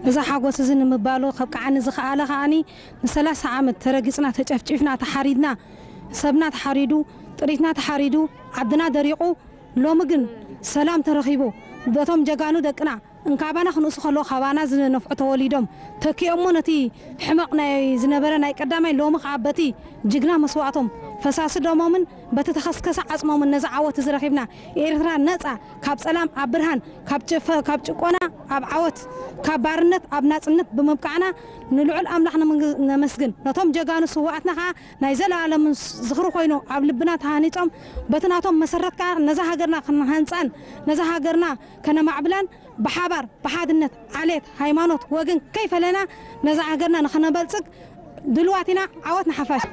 እዚ ሓጎስ እዚ ንምባሉ ከብቅዓኒ ዝኸኣለ ከኣኒ ንሰላሳ ዓመት ተረጊጽና፣ ተጨፍጪፍና፣ ተሓሪድና፣ ሰብና ተሓሪዱ፣ ጥሪትና ተሓሪዱ፣ ዓድና ደሪቑ፣ ሎሚ ግን ሰላም ተረኺቡ፣ በቶም ጀጋኑ ደቅና እንካባና ክንእሱ ከለዉ ካባና ዝነፍዑ ተወሊዶም ተኪኦሞ ነቲ ሕመቕ ናይ ዝነበረ ናይ ቀዳማይ ሎሚ ከዓ በቲ ጅግና መስዋእቶም ፈሳሲ ደሞምን በቲ ተኸስከሰ ዓጽሞምን ነዚ ዓወት እዚ ረኺብና። ኤርትራ ነጻ ካብ ጸላም ኣብ ብርሃን፣ ካብ ጭፈ-፣ ካብ ጭቆና ኣብ ዓወት፣ ካብ ባርነት ኣብ ናጽነት ብምብቃዕና ንልዑል ኣምላኽ ነመንግ-፣ ነመስግን። ነቶም ጀጋኑ ስውኣትና ከዓ ናይ ዘለኣለም ዝኽሪ ኮይኑ ኣብ ልብና ተሃኒጾም በቲ ናቶም መሰረት ከዓ ነዛ ሃገርና ክንሃንጻን ነዛ ሃገርና ከነማዕብላን ብሓባር ብሓድነት ዓሌት ሃይማኖት ወገን ከይፈለና ነዛ ሃገርና ንኸነበልጽግ ድልዋት ኢና። ዓወት ንሓፋሽ።